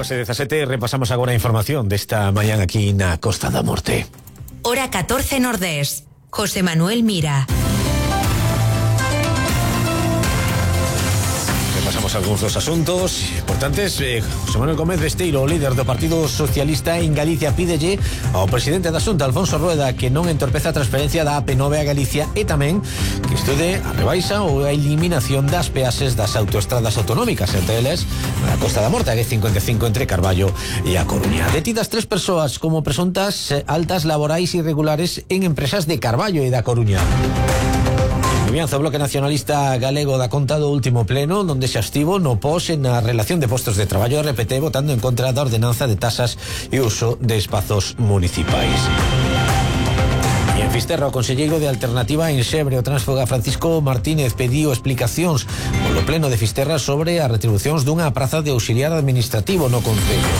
12:17, repasamos agora a información desta mañán aquí na Costa da Morte. Hora 14 Nordés. José Manuel Mira. Repasamos algúns dos asuntos importantes. José Manuel Gómez Besteiro, o líder do Partido Socialista en Galicia, pídelle ao presidente da Xunta, Alfonso Rueda, que non entorpeza a transferencia da AP9 a Galicia e tamén que estude a rebaixa ou a eliminación das peaxes das autoestradas autonómicas, entre eles na Costa da Morte, a G55 entre Carballo e a Coruña. Detidas 3 persoas como presuntas altas laborais irregulares en empresas de Carballo e da Coruña. Comienza o Bloque Nacionalista Galego da conta do último pleno, onde se abstivo no pos en a relación de postos de traballo RPT, votando en contra da ordenanza de tasas e uso de espazos municipais. E en Fisterra, o conselleiro de Alternativa en Xebre, o transfoga Francisco Martínez, pediu explicacións polo pleno de Fisterra sobre as retribucións dunha praza de auxiliar administrativo no concello.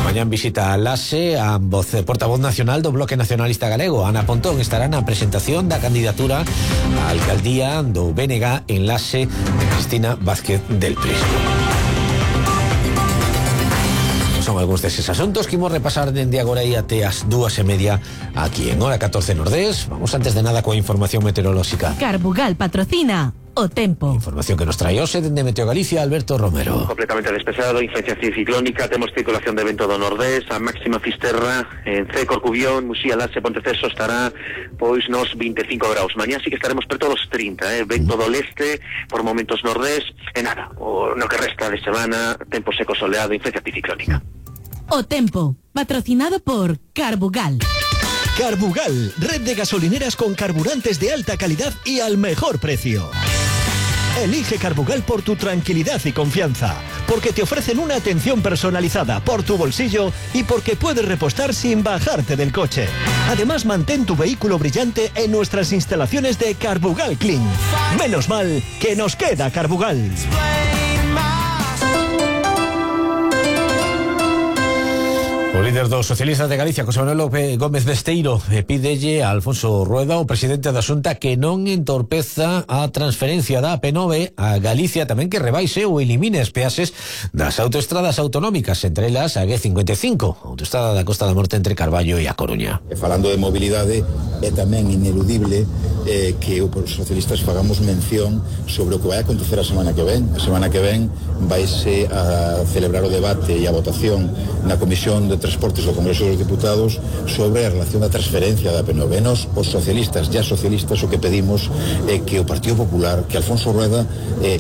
Mañán visita a LASE a portavoz nacional do Bloque Nacionalista Galego. Ana Pontón estará na presentación da candidatura á alcaldía do BNG en LASE de Cristina Vázquez del Prisco. Son algúns deses asuntos que imos repasar dende agora e até as 2:30 aquí en Hora 14 Nordés. Vamos antes de nada coa información meteorolóxica. Carbugal patrocina o tempo. Información que nos trae hoxe dende Meteo Galicia, Alberto Romero. Completamente despexado, influencia ciclónica, temos circulación de vento do nordés, a máxima Fisterra, en C, Corcubión, Muxía, Laxe, Ponteceso estará pois nos 25 graus. Mañá sí que estaremos preto dos 30, vento do leste, por momentos nordés, e nada, no que resta de semana, tempo seco soleado, influencia ciclónica. O tempo, patrocinado por Carbugal. Carbugal, red de gasolineras con carburantes de alta calidad y al mejor precio. Elige Carbugal por tu tranquilidad y confianza, porque te ofrecen una atención personalizada por tu bolsillo y porque puedes repostar sin bajarte del coche. Además, mantén tu vehículo brillante en nuestras instalaciones de Carbugal Clean. Menos mal que nos queda Carbugal. O líder dos socialistas de Galicia, José Manuel Gómez Besteiro, pídelle a Alfonso Rueda, o presidente da Xunta, que non entorpeza a transferencia da AP9 a Galicia, tamén que rebaixe ou elimine as peaxes das autoestradas autonómicas, entre elas a G55, a autoestrada da Costa da Morte entre Carballo e a Coruña. Falando de mobilidade, é tamén ineludible que os socialistas fagamos mención sobre o que vai acontecer a semana que ven. A semana que ven vaise a celebrar o debate e a votación na Comisión de Transportes do Congreso dos Diputados sobre a relación da transferencia da AP9. Nos, os socialistas, o que pedimos é que o Partido Popular, que Alfonso Rueda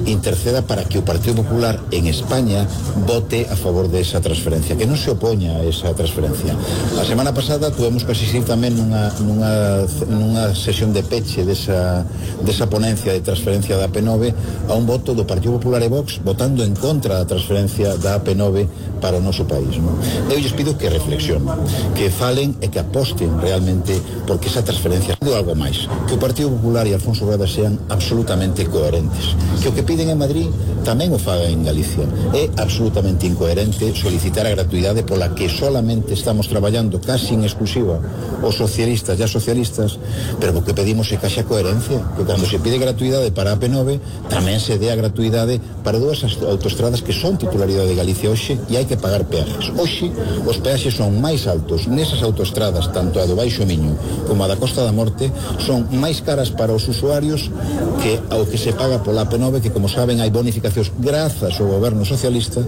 interceda para que o Partido Popular en España vote a favor desa transferencia, que non se opoña a esa transferencia. A semana pasada tuvemos que asistir tamén nunha sesión de peche desa ponencia de transferencia da AP9 a un voto do Partido Popular e Vox votando en contra da transferencia da AP9 para o noso país, non? Eu lles pido que reflexionen, que falen e que aposten realmente porque esa transferencia é algo máis, que o Partido Popular e Alfonso Rueda sean absolutamente coherentes, que o que piden en Madrid tamén o fagan en Galicia. É absolutamente incoherente solicitar a gratuidade pola que solamente estamos traballando casi en exclusiva os socialistas e as socialistas, pero o que pedimos é que haxa coherencia, que cando se pide gratuidade para a AP9 tamén se dé a gratuidade para dúas autoestradas que son titularidade de Galicia hoxe e hai que pagar peajes. Hoxe os peaxes son máis altos nesas autoestradas, tanto a do Baixo Miño como a da Costa da Morte, son máis caras para os usuarios que ao que se paga pola AP9, que como saben hai bonificacións grazas ao goberno socialista.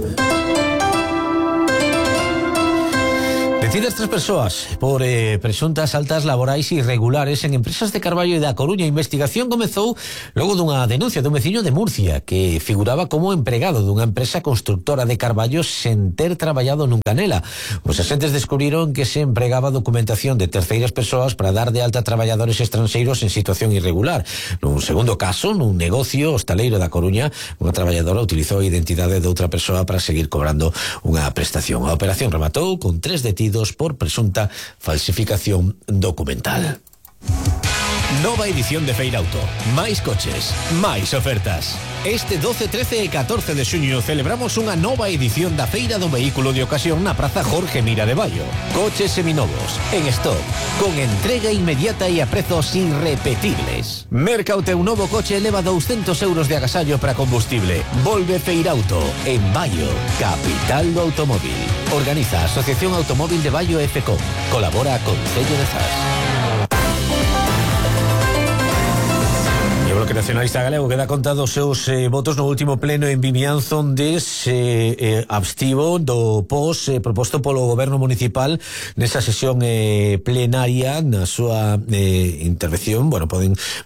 Detidas 3 persoas por presuntas altas laborais irregulares en empresas de Carballo e da Coruña. A investigación comezou logo dunha denuncia dun veciño de Murcia que figuraba como empregado dunha empresa constructora de Carballo sen ter traballado nunca nela. Os agentes descubriron que se empregaba documentación de terceiras persoas para dar de alta a traballadores estranxeiros en situación irregular. Nun segundo caso, nun negocio hostaleiro da Coruña, unha traballadora utilizou a identidade de outra persoa para seguir cobrando unha prestación. A operación rematou con 3 detidos por presunta falsificación documental. Nova edición de Feirauto. Máis coches, máis ofertas. Este 12, 13 e 14 de xuño celebramos unha nova edición da Feira do Vehículo de Ocasión na Praza Jorge Mira de Baio. Coches seminovos, en stock, con entrega inmediata e a prezos irrepetibles. Merca o teu novo coche e leva 200 euros de agasallo para combustible. Volve Feirauto, en Baio, capital do automóvil. Organiza a Asociación Automóvil de Baio FCO. Colabora con Concello de Zas. O Bloque Nacionalista Galego queda contado os seus votos no último pleno en Vimianzo, onde se abstivo do POS proposto polo Goberno Municipal nesa sesión plenaria. Na súa intervención,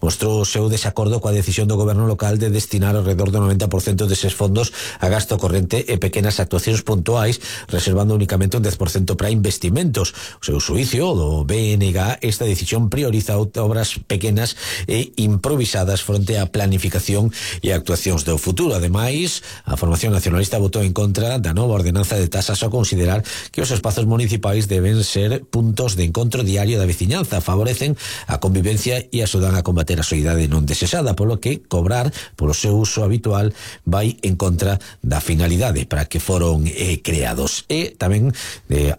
mostrou o seu desacordo coa decisión do Goberno local de destinar alrededor do 90% deses fondos a gasto corrente e pequenas actuacións puntuais, reservando únicamente un 10% para investimentos. O seu xuicio do BNG, esta decisión prioriza obras pequenas e improvisadas fronte á planificación e actuacións do futuro. Ademais, a formación nacionalista votou en contra da nova ordenanza de tasas ao considerar que os espazos municipais deben ser puntos de encontro diario da veciñanza, favorecen a convivencia e axudan a combater a soidade non desexada, polo que cobrar polo seu uso habitual vai en contra da finalidade para que foron creados. E tamén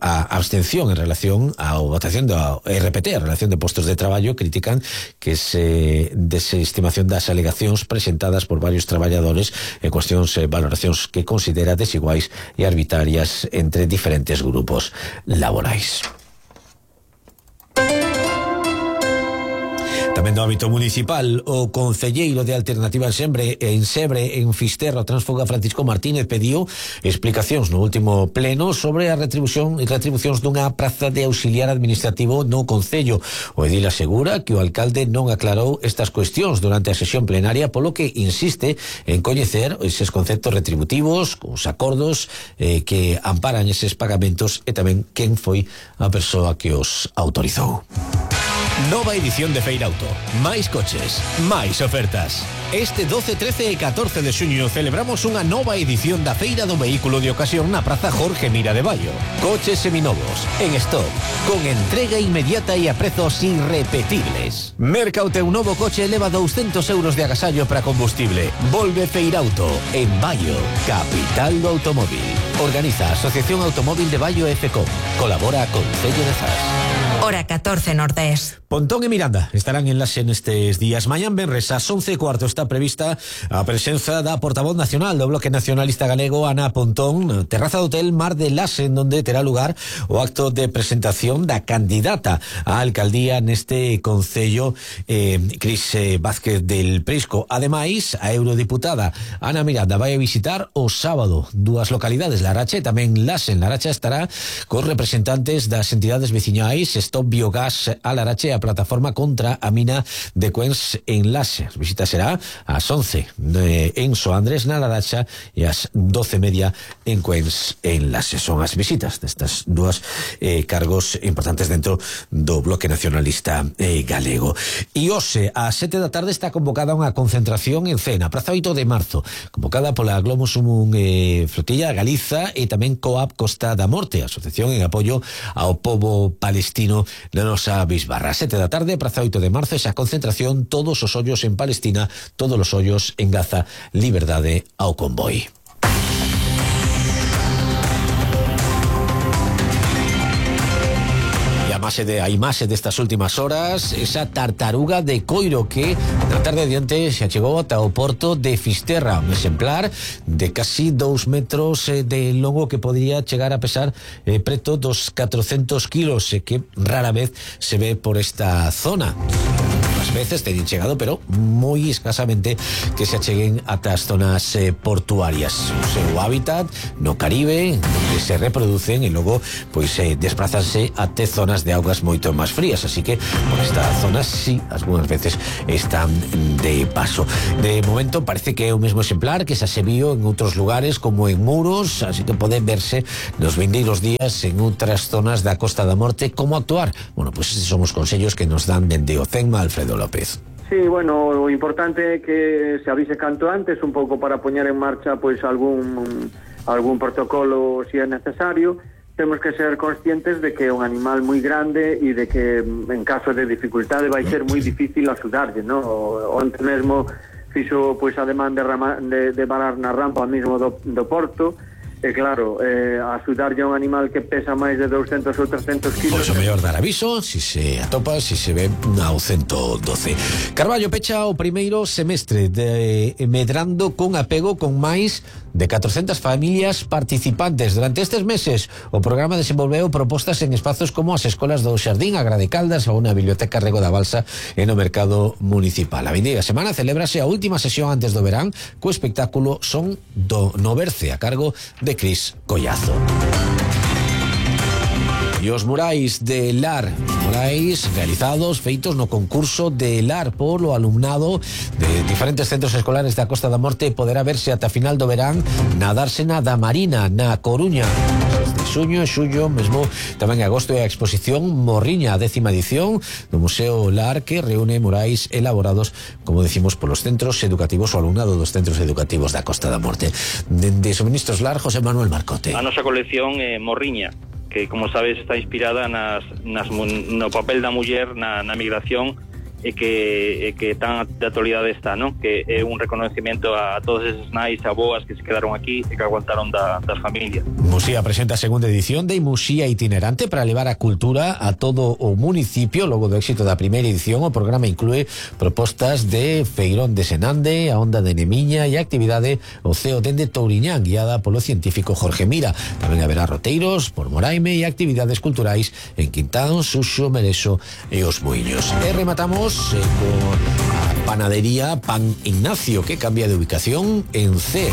a abstención en relación á votación da RPT, a relación de postos de traballo, critican que se desestimación das alegacións presentadas por varios traballadores en cuestións e valoracións que considera desiguais e arbitrarias entre diferentes grupos laborais. Tamén do ámbito municipal, o concelleiro de Alternativa en Sebre, en Fisterra, o transfuga Francisco Martínez, pediu explicacións no último pleno sobre a retribucións dunha praza de auxiliar administrativo no concello. O edil asegura que o alcalde non aclarou estas cuestións durante a sesión plenaria, polo que insiste en coñecer eses conceptos retributivos, os acordos que amparan eses pagamentos e tamén quen foi a persoa que os autorizou. Nova edición de Feirauto. Máis coches, máis ofertas. Este 12, 13 e 14 de xuño celebramos unha nova edición da Feira do Vehículo de Ocasión na Praza Jorge Mira de Baio. Coches seminovos, en stock, con entrega inmediata e a prezos irrepetibles. Merca o teu novo coche e leva 200 euros de agasallo para combustible. Volve Feirauto, en Baio, capital do automóvil. Organiza a Asociación Automóvil de Baio FCO. Colabora con Concello de Zas. Hora 14 Nordés. Pontón e Miranda estarán en Laxe nestes días. Mañán venres ás 11:15 está prevista a presenza da portavoz nacional do Bloque Nacionalista Galego, Ana Pontón, na terraza do Hotel Mar de Laxe, onde terá lugar o acto de presentación da candidata á alcaldía neste concello, Cris Vázquez del Prisco. Ademais, a eurodiputada Ana Miranda vai a visitar o sábado dúas localidades, Laracha e tamén Laxe. En Laracha estará cos representantes das entidades veciñais Stop Biogás a Larache, a plataforma contra a mina de Cuens en Laxe. A visita será ás 11 en Soandres na Laracha e ás 12:30 en Cuens en Laxe. Son as visitas destas dúas cargos importantes dentro do Bloque Nacionalista Galego. E hoxe ás 7 da tarde está convocada unha concentración en Cena, Praza 8 de Marzo, convocada pola Globus Sumum Flotilla Galiza e tamén Coap Costa da Morte, asociación en apoio ao pobo palestino na nosa bisbarra. 7 da tarde, Praza 8 de Marzo, esa concentración, todos os ollos en Palestina, todos os ollos en Gaza, liberdade ao convoi. A imaxe destas últimas horas, esa tartaruga de coiro que na tarde de onte se achegou ata o porto de Fisterra, un exemplar de casi 2 metros de longo que podría chegar a pesar preto dos 400 kilos, que rara vez se ve por esta zona. As veces teñen chegado, pero moi escasamente que se acheguen ata as zonas portuarias. O seu hábitat no Caribe, onde se reproducen e logo desplazanse até zonas de augas moito máis frías, así que por esta zona sí, algunhas veces están de paso. De momento parece que é o mesmo exemplar que xa se viu en outros lugares como en Muros, así que pode verse nos vindeiros días en outras zonas da Costa da Morte. Como actuar? Bueno, pues son os consellos que nos dan dende o CENMA Alfredo López. Sí, bueno, o importante é que se avise canto antes, un pouco para poñer en marcha pois algún protocolo se é necesario, temos que ser conscientes de que é un animal moi grande e de que en caso de dificultade vai ser moi difícil axudarlle, ¿no? Onte mesmo fixo pois ademán de varar na rampa mesmo do porto. E claro, axudarlle a un animal que pesa máis de 200 ou 300 kilos. Pois o mellor dar aviso, si se atopa, si se ve ao 112. Carballo pecha o primeiro semestre medrando con apego con máis de 400 familias participantes. Durante estes meses, o programa desenvolveu propostas en espazos como as escolas do Xardín, a Gra de Caldas ou na Biblioteca Rego da Balsa e no Mercado Municipal. A vindeira semana celébrase a última sesión antes do verán co espectáculo Son do Noverce a cargo de Cris Collazo. E os murais de LAR, murais realizados, feitos no concurso de LAR polo alumnado de diferentes centros escolares da Costa da Morte, poderá verse ata final do verán na Dársena da Marina, na Coruña. De xuño e xullo, mesmo tamén en agosto, é a exposición Morriña, a 10ª edición do Museo LAR, que reúne murais elaborados, como decimos, polos centros educativos o alumnado dos centros educativos da Costa da Morte. De Suministros LAR, José Manuel Marcote. A nosa colección é Morriña, que, como sabes, está inspirada no papel da muller na migración e que tan de actualidade está, non? Que é un reconocimiento a todos esos nais e aboas que se quedaron aquí e que aguantaron das familias. Muxía presenta a segunda edición de Muxía Itinerante para levar a cultura a todo o municipio. Logo do éxito da primeira edición, o programa inclúe propostas de Feirón de Senande, a Onda de Nemiña e a actividade Oceo dende Touriñán, guiada polo científico Jorge Mira. Tamén haberá roteiros por Moraime e actividades culturais en Quintán, Suxo, Merexo e Os Muiños. E rematamos con panadería Pan Ignacio, que cambia de ubicación en C.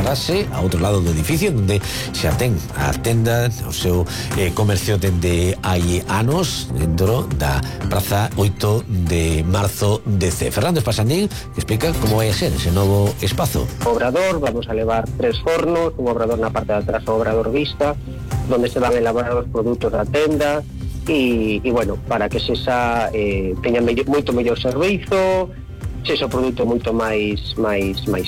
Rase a outro lado do edificio, onde xa ten a tenda, o seu comercio dende hai anos, dentro da Praza 8 de Marzo de C. Fernando Espasandín, que explica como vai a ser ese novo espazo. Obrador, vamos a levar 3 fornos, un obrador na parte de atrás, o obrador vista, donde se van a elaborar os produtos da tenda, e bueno, para que sexa teña moito mellor servizo, sexa o produto moito máis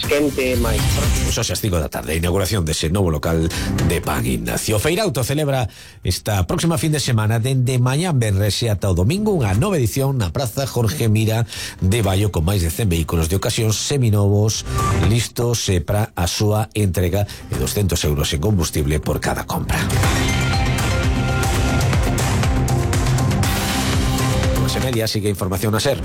quente, máis... Pois hoxe as 5 da tarde, a inauguración dese novo local de Pan Ignacio. Feirauto celebra esta próxima fin de semana dende mañá venres e ata o domingo unha nova edición na Praza Jorge Mira de Baio, con máis de 100 vehículos de ocasión seminovos listos para a súa entrega e 200 euros en combustible por cada compra. Media sigue información a ser.